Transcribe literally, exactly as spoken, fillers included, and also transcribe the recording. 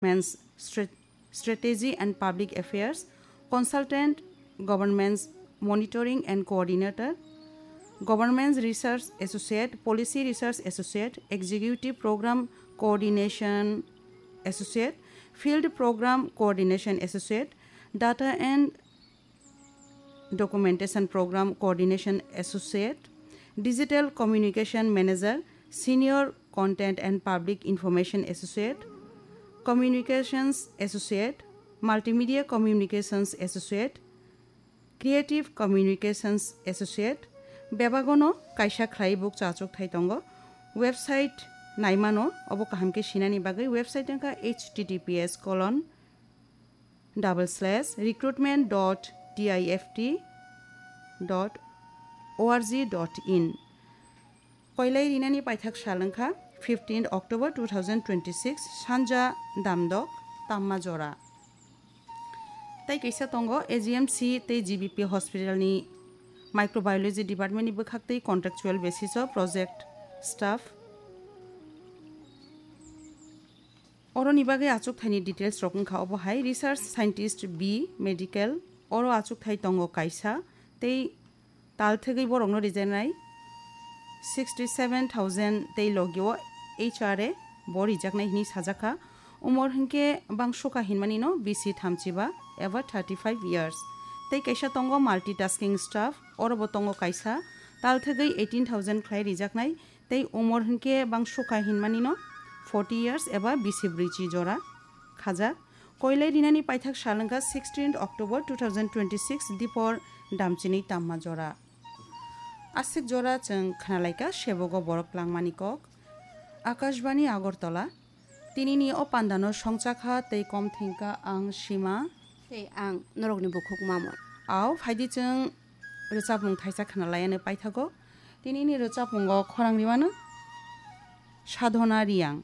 Government's Stra- Strategy and Public Affairs, Consultant, Government's Monitoring and Coordinator, Government's Research Associate, Policy Research Associate, Executive Program Coordination Associate, Field Program Coordination Associate, Data and Documentation Program Coordination Associate, Digital Communication Manager, Senior Content and Public Information Associate, Communications Associate, Multimedia Communications Associate, Creative Communications Associate, bebagono kaisa khlai buk chachuk thai tongo. Website naimano, obo kaham khe sinani bagwi website wngkha H T T P S colon double slash recruitment dot T I F T dot org dot in. Koilai rinani paithak sal wngkha fifteenth October two thousand twenty-six, sanja damdok tamma jora. Tai kaisa tongo A G M C tei G B P hospital ni microbiology department ni bwkhak tei contractual basis o project staff. Oroni bagwi achukthai ni details rok wngkha obo hai: Research Scientist B, Medical, oro achukthai tongo kaisa, tei tal thwgwi borokno rijaknai sixty seven thousand tei logi o H R A bo rijaknai hwnwi sajakha. Umor hinkhe bang sukha hinmani no bisi thamchiba eba thirty five years. Tei kaisa tongo multitasking staff, oro bo tongo kaisa, tal thwgwi eighteen thousand khlai rijaknai, tei umor hinkhe bang sukha hinmani no forty years eba bisi brwichi jora khajak. Koilai rinani paithak sal wngkha sixteenth October two thousand twenty-six, dipor damchini tamma jora. Aswk jora chwng khnalaikha sebogo borok langmani kok. Akashbani Agartala, tinini o pandano songchakha tei kom thengkha ang Sima. Tei ang norokni bukhuk Mamon. Ao phaidi chwng rwchapmung thaisa khna laianw paithago. Tinini rwchapmungo khorang rwmano Sadhona Riyang.